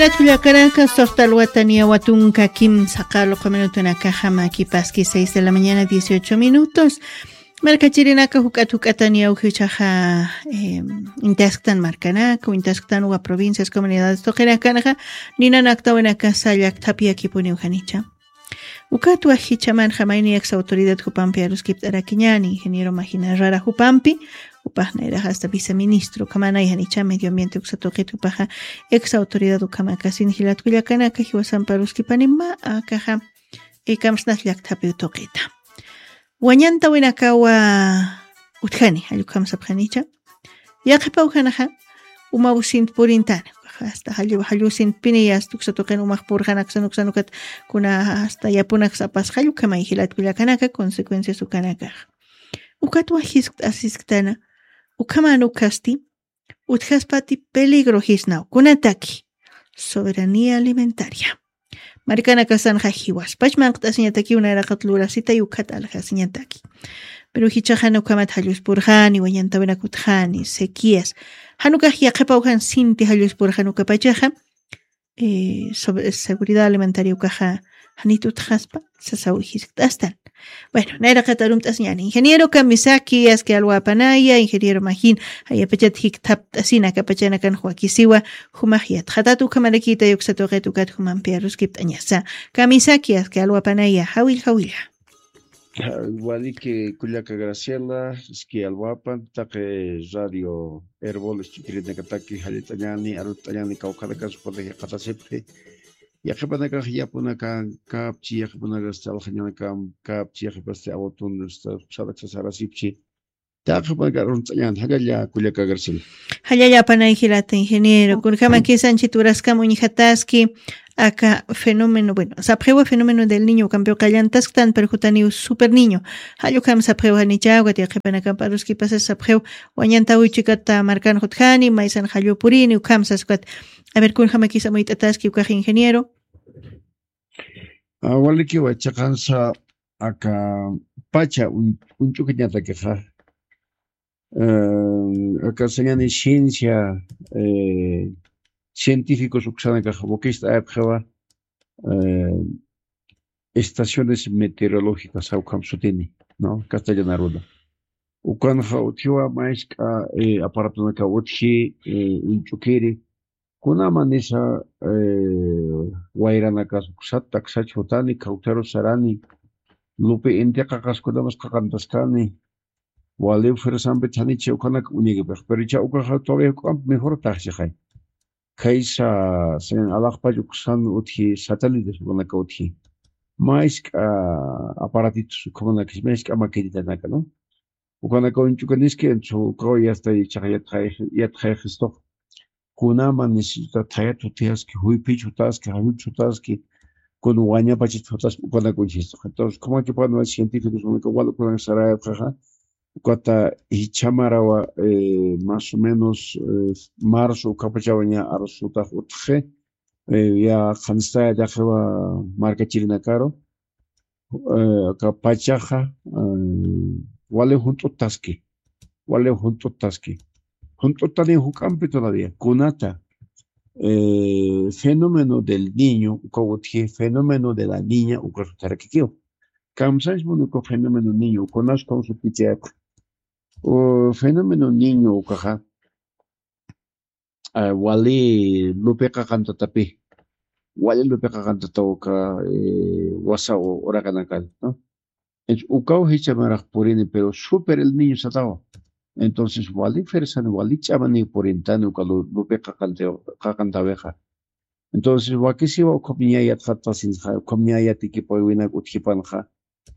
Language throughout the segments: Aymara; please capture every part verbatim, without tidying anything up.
Kullakanaka, suxta alwata niyawa tunka kimsa qarluqa minutunakaxa, makipaski seis de la mañana, dieciocho minutos. Markachirinaka, juk'at juk'ata niyawjichaxa, em, intasktan markanaka, intasktan wa provincias, comunidades tuqinakanxa, ninanakta winakasa llakthapi yakipuniw janicha. Ukatwa jichhamanxa mayni ex autoridad jupampi aruskipt'arakiñäni, ingeniero Magina Rara jupampi, jupax nayraq hasta viceministro ukhamanay janicha medio ambiente uksa tuqit jupaxa ex autoridad ukhamakasin jilat kullakanaka, jiwasampi aruskipani mä akaxa, eh, kamsnas llakthapiw tuqita. Wañantawinakawa utjani, jall ukham sapxanicha. Yaqhipaw janaxa, umaw sint purintani, hasta jallu, jallu sintpini, hasta uksa tuqin umax purxanaksan uksan ukat kuna hasta yapunak sapas, jall ukhamay jilat kullakanaka, consecuencias ukanakax. Ukatwa jiskt'asisktana, ukhaman ukasti, utjaspati peligro jisnaw, kunataki, soberanía alimentaria. Markanakasanxa jiwaspach manqt'asiñatakiw nayraqat lurasita y ukat aljasiñataki. Pero jichhaxa jan ukhamat jalluspurxani, wañantawinak utjani, sequías. Jan ukax yaqhipaw jan sinti jalluspurxan ukapachaxa, eh, sobre seguridad alimentaria ukaxa janit utjaspa, sasaw jiskt'astan. Bueno, nayraqat arumt'asiñäni. Ingeniero kamisaki, aski alwapanaya, ingeniero Magin, jayapachat jikthapt'asina, akapachanakan wakisiwa, jumax yatxatat ukhamarakita uksa tuqit ukat jumampi aruskipt'añasa. Kamisaki, aski alwapanaya, jawil, jawilla. Waliki kullaka Graciela, aski alwapan, taqi radio Erbol, istukirinakataki, jallit'añani, arut'añani, kawkhanakas, supanaji qatasipxi. Yaqhipanakax yapunakan kapchi, yaqhipanakax chalxañanakan kapchi, yaqhipasti awatun, esta, saraksasarasipchi. Taqhipanakax arunts'añan, jallalla kullaka Graciela. Jallalla panay jilata ingeniero, kunjamakisanchit uraskam uñjataski, aka fenómeno, bueno, sapxiwa fenómeno del niño, ukampiw qallantasktan, pero jutaniw super niño. Jall ukham sapxiw janicha, ukat yaqhipanakamp aruskipasa sapxiw, wañantawi chikata markan jutjani, maysan jallu purini, ukham saskat. A ver, kunjamakis amuyt'ataski ukax ingeniero. Ah, walikiwa, chiqansa aka pacha un-, uñch'ukiñatakixa. Eh, aka sañani ciencia, eh, científicos uksanakaxa wakicht'ayapxiwa, eh, estaciones meteorológicas, ukham sutini, ¿no? Castellano aruna. Ukanxa utjiwa mask'a, eh, aparatonaka utji, eh, uñch'ukiri, kunjamanisa, eh, wayranakas uksat taksach jutani, kawtharu sarani, lupi inti qaqas kunamas qaqantaskani, wali fuerzampi thanichi ukhanak uñakipix. Pero cha ukaxa todavía juk'amp mejor taxchixay. Khaysa, sin alaxpach uksan utji satélites ukanaka utji. Mask'a aparatitos ukhamanakis, mask'a maquinitanaka, ¿no? Ukanaka uñch'ukaniski, entonces ukawa ya está, ichaxa yatxay-, yatxayxistux. Kunama necesita thayat jutijaski, juyphich jutaski, jayut jutaski, kun wañapachit jutaski, ukanaka uñjistu. Entonces, kumakipan científicos, ukanaka wal ukanak sarayapxaxa, ukata jichhamarawa, eh, más o menos, eh, marzo ukapachawaña arsutax utxi, eh, ya qhanstaya daqiwa markachirinakaru, eh, aka pachaxa, eh, wali junt'uttaski, wali junt'uttaski. Junt'uttani juk'ampi todavía, kunata, eh, fenómeno del niño, uka utji, fenómeno de la niña, uka sutarakikiw. Kamsanch munuku fenómeno niño, ukanas kawsupichayapxa. O fenómeno niño ukaxa, ah, wali lupiqa qantatapi, wali lupiqa qantataw uka, eh, wasa u-, uraqinakal, ¿no? Entonces, ukaw jichhamaraq purini, pero súper el niño satawa. Entonces, wali fuerzan, wali ch'amani purintani uka lu-, lupiqa qantaw-, qaqantawixa. Entonces, wakisiwa ukham ña yatxatasinxa, ukham ña yatikipawinak utjipanxa,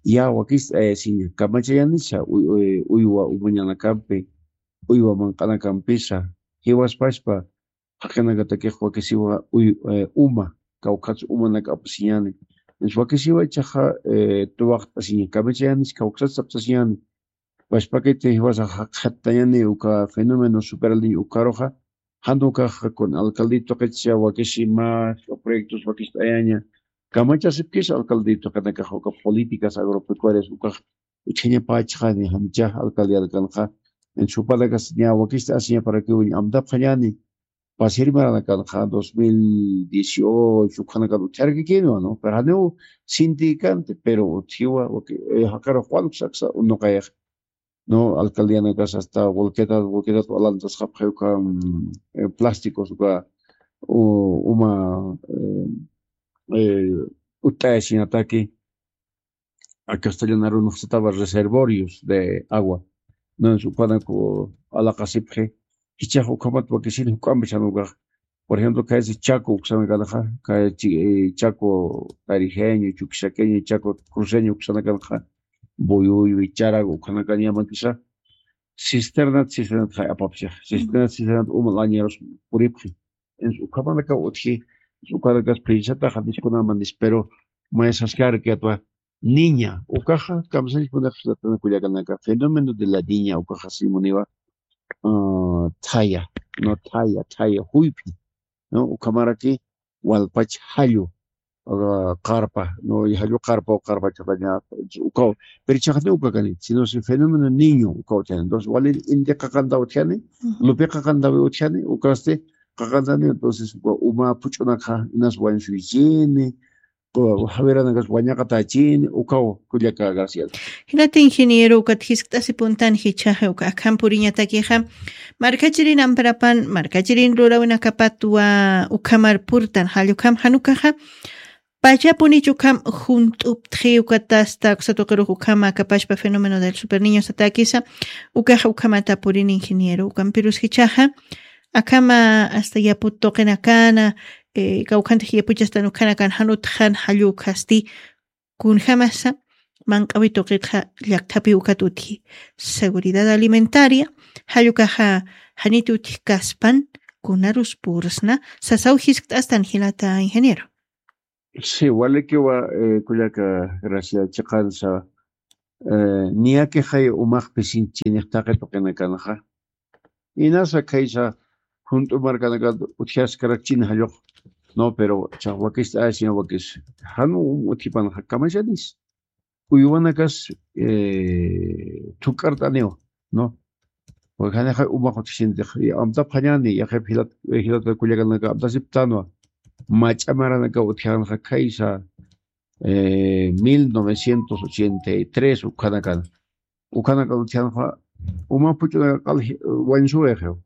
ya wakist'ayasiña, kamachayanisa uy-, uy-, uywa umañanakampi, uywa manq'anakampisa, jiwaspaspa, jaqinakatakix wakisiwa uy-, eh, uma, kawkhats umanak apasiñani. Entonces, wakisiwa ichaxa, eh, tuwaqt'asiña, kamachayanis kawksat saptasiñani. Pachpakiti jiwasa jaqhattañani uka fenómeno super el niño ukaruxa, jan ukaxa kun alcaldía tuqitsa wakisi mä proyectos wakist'ayaña, kamachasipkis alcaldía tuqinakaxa uka políticas agropecuarias ukax utjañapächixani, janicha alcaldía alkanxa, en supanakas ña wakist'asiñaparakiw uña amtapxañani, pasir maranakanxa dos mil dieciocho ukhanakan utjarakikiniwa, ¿no? Pero janiw sintikanti, pero utjiwa, jaqirux Juan Kusaksa unuqayax, ¿no? Alcaldianakas hasta volquetat, volquetat alantasxapxi uka, mm, eh, plásticos uka, u-, uma, eh, eh, utt'ayasiñataki, a castellana arunxsatawa reservorios de agua. Entonces, ukanak alaqasipxi, jichhax ukhamat wakisin juk'ampi chhanaw ukax. Por ejemplo, kaysi Chaco uksanakanxa, kay chi-, eh, Chaco Tarijeño, Chuquisaqueño, Chaco Cruceño uksanakanxa, Buyuy, Charago ukhanakan yamakisa, cisternat, cisternat jay apapxi, cisternat, cisternat uma lañeros puripxi. Entonces, ukhamanakaw utji, ukanakas prinsataxa niskunaman nis, pero mayasaskar que atwa niña, ukaxa, kamsanispunax latana kullakanaka, fenómeno de la niña, ukaxa simuniwa, ah, thaya, no thaya, thaya, juyphi, ¿no? Ukhamaraki, walpach jallu, ah, qarpa, ¿no? Y jallu qarpa, o qarpa chaqaña, ukaw, pero chaqni ukakani, sino si fenómeno niño, ukaw utjani. Entonces, wali indi qaqantaw utjani, lupi qaqantaw utjani, ukasti, qaqantani, entonces, uka uma puch'unakxa, inas wañsuychini, o jawiranakas wañaqatachini, ukaw kullaka García. Jinata ingeniero, ukat jiskt'asi puntan jichhaxa, uka akham puriñatakixa, markachirin amprapan, markachirin lurawinakapatwa ukhamar purtan, jall ukham jan ukaxa, pachapunich ukham junt'uptxi, ukatasta, uksa tuqirux ukham akapachpa fenómeno del superniños atakisa, ukaxa ukhamata purin ingeniero, ukampirus jichhaxa, akhama hasta yaput tuqinakana, eh, kawkhantix yapuchastan ukhanakan jan utjan jall ukhasti, kunjamasa, manq'awi tuqitxa llakthapi ukat utji. Seguridad alimentaria, jall ukaxa janit utji kaspan, kunarus pursna, sasaw jiskt'astan jinata ingeniero. Sí, walikiwa, eh, kullaka Gracia chiqansa, eh, niyakixay umax pisinchiniq taqi tuqinakanxa. Inasa khaysa junt'u markanakat utjaskarakchini jallux. No, pero cha wakis, ay, sino wakis. Jan utjipanxa kamachanis. Uywanakas, eh, thuk'art'aniw, ¿no? Porque janixa umax utjisintix. Y amtapxañani, yaqip jilat, eh, jilat kullakanaka amtasiptanwa. Mach'a maranaka utjanxa khaysa, eh, mil novecientos ochenta y tres ukhanakan. Ukhanakan utjanxa, uma puch'unaka q'al, eh, wañsuwayxiw.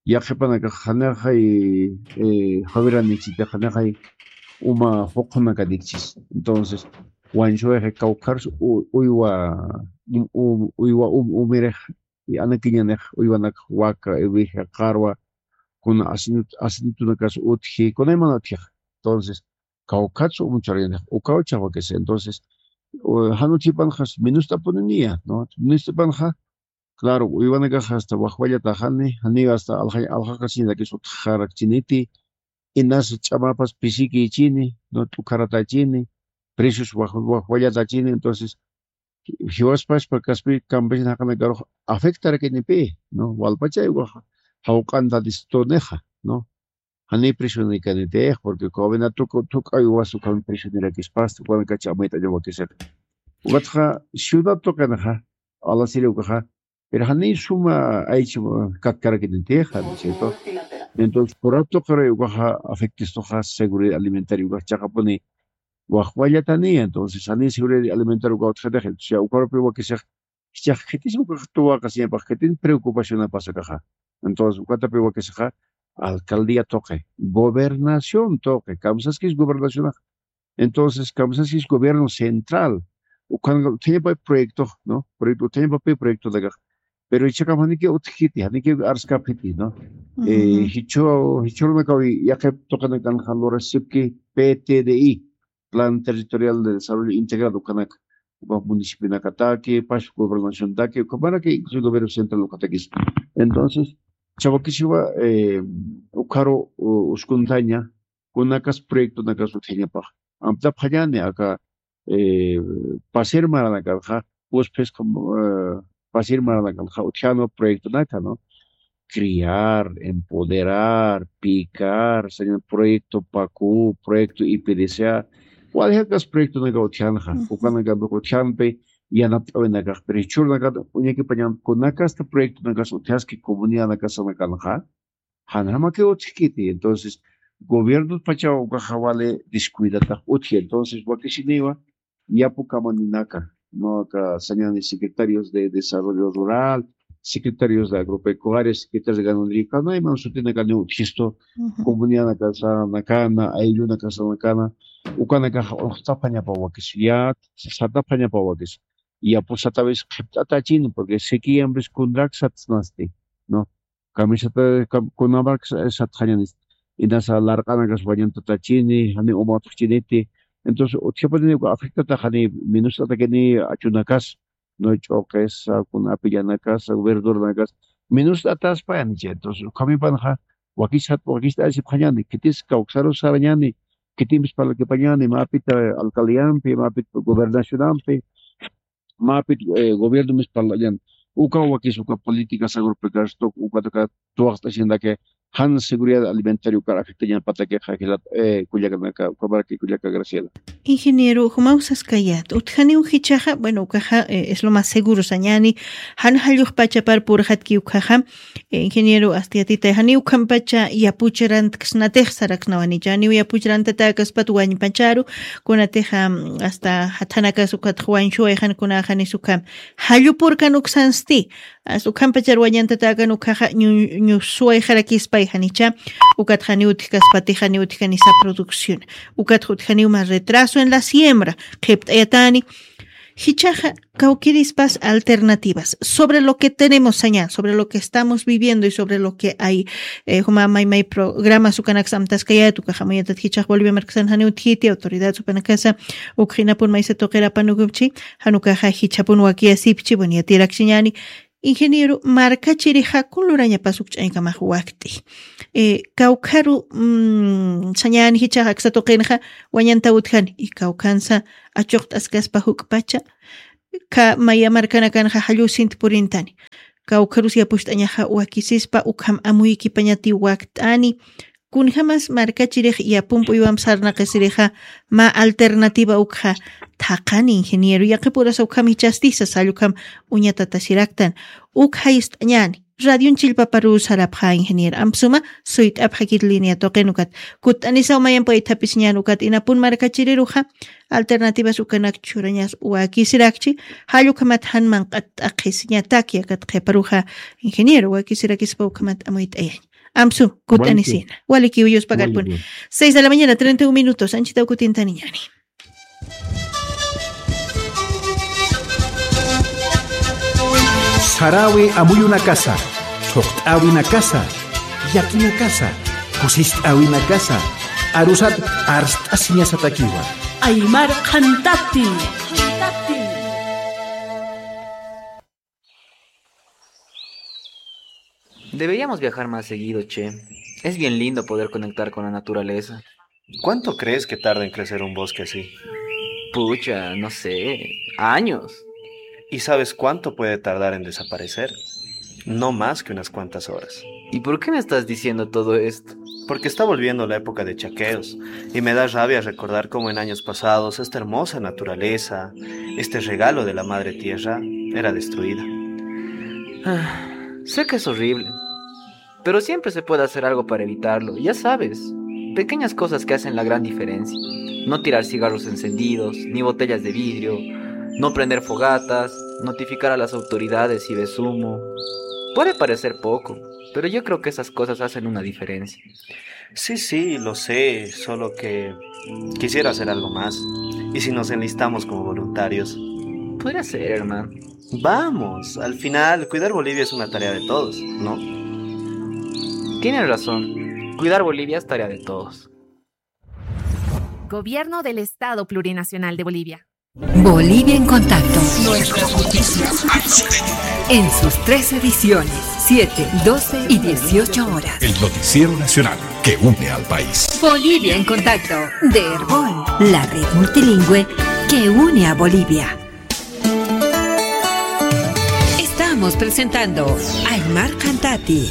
Yaqhipanakax janixay, eh, jawiranikchiti, janixay uma juqhunakanïkchis. Entonces, wañsuwayxi kawkharus u-, uywa, um, um, uywa um, umirix, y anakiñanix uywanakax waka, iwija, qarwa, kuna asinit-, asinitunakas utji, kunayman utjix. Entonces, kawkhatsu umcharañanix, ukaw chawakis. Entonces, u-, jan utjipanxas, minust'apuniniya, ¿no? Minust'apanxa, claro, uywanakax hasta wajwallataxani, janiw hasta alja-, aljaqasiñatakis utjarakchiniti, inas ch'amapas pisikïchini, ¿no? T'ukharatachini, precios waj-, wajwallatachini, entonces, jiwaspaspa kaspi campesina jaqinakarux afectarakinipi, ¿no? Walpachay waj-, jawq'antatistunixa, ¿no? Janiy presionïkanitix, porque gobierno tuku-, thuk'aw uywas ukham presionirakispasti, ukanakachi amayt'aña wakisixa. Ukatxa ciudad tuqinxa, alasiri ukaxa, pero janiy suma aycha katkarakinixa, ¿no es cierto? Entonces, por rato qiri ukaxa afectistuxa seguridad alimentaria ukax chaqapuni wajwallataniya, entonces, janiy seguridad alimentaria ukax utjatix, entonces, ya ukarupi wakisix, jichhax khitis ukax tuwaqasiñapax khitin preocupacionapas akaxa. Entonces, ukatapi wakisixa, alcaldía tuqi, gobernación tuqi, kamsaskis gobernacionax. Entonces, kamsaskis gobierno central. Ukan utjañapa proyecto, ¿no? Proyecto, utjañapapi proyecto dakax. Pero ichhakam janiki utjiti, janiki arskapiti, ¿no? Eh, jichhu, jichhürunakawi yaqip tuqinakanxa lurasipki P T D I, Plan Territorial de Desarrollo Integral, ukanak, uka municipionakataki, pas gobernaciontaki, ukamaraki, incluso gobierno central ukatakis. Entonces, chawakisiwa, eh, ukaru, u-, uskuntaña, kunakas proyectonakas utjañapax. Amtapxañani aka, eh, pasir maranakanxa, puspis como, eh, pasir maranakanxa utjänwa proyectonaka, ¿no? Criar, empoderar, picar, saña proyecto PACU, proyecto I P D C A, waljakas proyectonaka utjänxa, ujú, ukanaka utjänpi yanapt'awinakax, pero jichhürunaka uñakipañan kunakasta proyectonakas utjaski comunidadnakasanakanxa, janjamakiw utjkiti. Entonces, gobierno pachaw ukaxa wali descuidatax utji. Entonces, wakisiniwa, yapu kamaninaka, ¿no? Aka sañani secretarios de desarrollo rural, secretarios de agropecuaria, secretarios de ganadería, kana ima sutinakaniw utjistu, comunidadnakasanakana, ayllunakasanakana, ukanakax uxt'aphañapaw wakis, ya sataphañapaw wakis. Yapu satawis qhipt'atachin, porque sequíampis kunrak satsnasti, ¿no? Kamisata kam-, kunamak sa-, satxañanis. Inasa larq'anakas wañantatachini, jani umatxchiniti. Entonces, utjapatini uka afectata jani minust'atakini achunakas, ¿no? Ch'uqis, kuna apillañakas, verduranakas. Minust'ataspa yanicha. Entonces, ukhamipanxa, wakisat, wakist'asipxañani, khitis kawksaru sarañani, khitimpis parlakipañani, mapit alcaldíampi, mapit gobernacionampi, mapit, eh, gobierno mis parlañan. Uka wakis uka políticas agropecuarias tok, uka taka tuwaqt'asindake, jan seguridad alimentaria uka afectañan patakixa jilat, eh, kullakanaka, uka maraki kullaka Graciela. Ingeniero, jumaw saskayät. Utjaniw jichhaxa, bueno, ukaxa, eh, es lo más seguro sañani, jan jallux pachapar purxatki ukaxa, eh, ingeniero, asti yatitay, janiw ukhampacha yapuch rantksnatix saraksnawanicha, janiw yapuch rantatäkaspat wañpacharu, kunatixa, mm, hasta jatjanakas ukatx wañsuwayxan kunaxanis ukham. Jallupurkan uksansti, as ukhampachar wañantatäkan ukaxa ñu-, ñusuwayxarakispay janicha, ukatx janiw utjkaspatix janiw utjkanisa producción, ukatx utjaniw más retraso en la siembra, qhipt'ayatani, jichhaxa kawkirispas alternativas sobre lo que tenemos sañan, sobre lo que estamos viviendo y sobre lo que hay, eh, juma may may programas ukanaks amtaskayät, ukaxa amuyt'at jichhax Bolivia markasan janiw utjiti, autoridad ukanakasa, ukxinapun maysa tuqir apanukupchi, jan ukaxa jichhapun wakiyasipchi, bueno, yatirakchiñani, ingeniero, markachirixa kun lurañapas uk ch'añkamax wakt'i. Eh, kawkharu, mm, sañani jichhax aksa tuqinxa wañantaw utjani, y kawkhansa achuqt'askaspa juk'pacha, ka maya markanakanxa jallusint purintani. Kawkharus yapucht'añaxa wakisispa ukham amuykipañati wakt'ani. Kunjamas markachirix yapump uywamp sarnaqisirixa mä alternativa ukxa thaqhani, ingeniero, yaqhipurasa ukham jichhasti sasall ukham uñatatasiraktan. Uk jayist'añani. Radion chillpaparu sarapxä, ingeniero. Amp suma suyt'apxakit línea tuqin ukat. Kutt'anisaw mayamp waythapisiñän ukat inapun markachiriruxa alternativas ukanak churañas wakisirakchi, jall ukhamat jan manq'at t'aqhisiñataki, akat qhiparuxa ingeniero wakisirakispa ukhamat amuyt'ayañ. Amsu, kutt'anisina. Walikiw, yuspakarpun. Seis de la mañana, treinta y un minutos. Anchitaw kutintaniñäni. Saräwi amuyunakasa, thuqt'äwinakasa, yakinakasa, kusist'äwinakasa, arusat arst'asiñasatakiwa. Aymar qhantati. Deberíamos viajar más seguido, che. Es bien lindo poder conectar con la naturaleza. ¿Cuánto crees que tarda en crecer un bosque así? Pucha, no sé, años. ¿Y sabes cuánto puede tardar en desaparecer? No más que unas cuantas horas. ¿Y por qué me estás diciendo todo esto? Porque está volviendo la época de chaqueos, y me da rabia recordar cómo en años pasados esta hermosa naturaleza, este regalo de la madre tierra, era destruida. Ah, sé que es horrible, pero siempre se puede hacer algo para evitarlo, ya sabes. Pequeñas cosas que hacen la gran diferencia. No tirar cigarros encendidos, ni botellas de vidrio, no prender fogatas, notificar a las autoridades si ves humo. Puede parecer poco, pero yo creo que esas cosas hacen una diferencia. Sí, sí, lo sé, solo que quisiera hacer algo más. ¿Y si nos enlistamos como voluntarios? Podría ser, hermano. Vamos, al final, cuidar Bolivia es una tarea de todos, ¿no? Tienes razón. Cuidar Bolivia es tarea de todos. Gobierno del Estado Plurinacional de Bolivia. Bolivia en Contacto. Nuestras noticias. En sus tres ediciones, siete, doce y dieciocho horas. El noticiero nacional que une al país. Bolivia en Contacto, de Erbol, la red multilingüe que une a Bolivia. Estamos presentando Aymar Qhantati,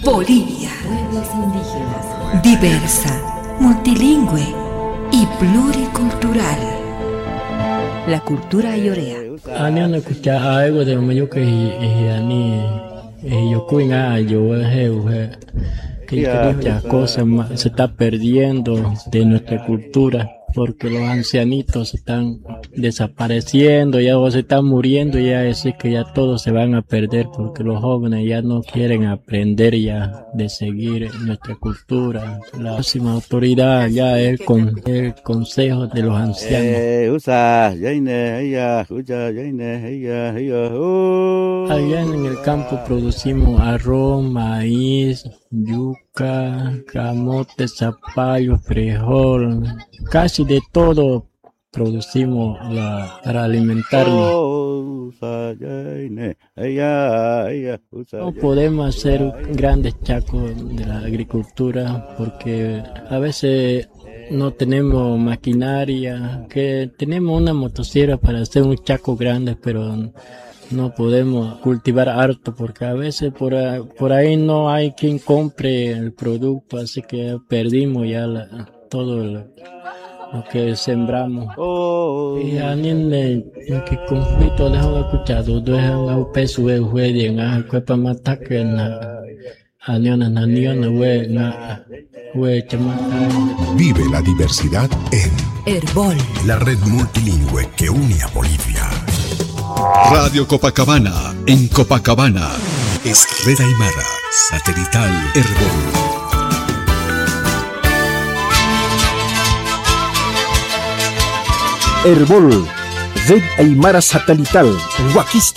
Bolivia. Pueblos indígenas. Diversa, multilingüe y pluricultural. La cultura ayorea. Ani una kucha aigo de umayuka y, y ani, y yo kuinga yo he, he. Que ya, muchas cosas ma-, se está perdiendo de nuestra cultura, porque los ancianitos se están desapareciendo ya o se están muriendo ya, así que ya todos se van a perder porque los jóvenes ya no quieren aprender ya de seguir nuestra cultura. La máxima autoridad ya es con el consejo de los ancianos. Eh, usa, yaine, ella, escucha, yaine, ella, ella, uh. Allá en el campo producimos arroz, maíz, yuca, camote, zapallo, frijol, casi de todo producimos la, para alimentarnos. Oh, usa, yaine, ella, ella, usa, no podemos hacer grandes chacos de la agricultura porque a veces no tenemos maquinaria, que tenemos una motosierra para hacer un chaco grande, pero no podemos cultivar harto porque a veces por, a-, por ahí no hay quien compre el producto, así que perdimos ya la, todo lo, lo que sembramos. Oh. Y anime, que conflicto de escuchar, de un peso de juez, en la cuepa más taque, en la Aniona, aniona, we, na, we, chama. Vive la diversidad en Erbol, la red multilingüe que une a Bolivia. Radio Copacabana, en Copacabana. Es Red Aymara, satelital Erbol. Erbol, Red Aymara Satelital, Wakis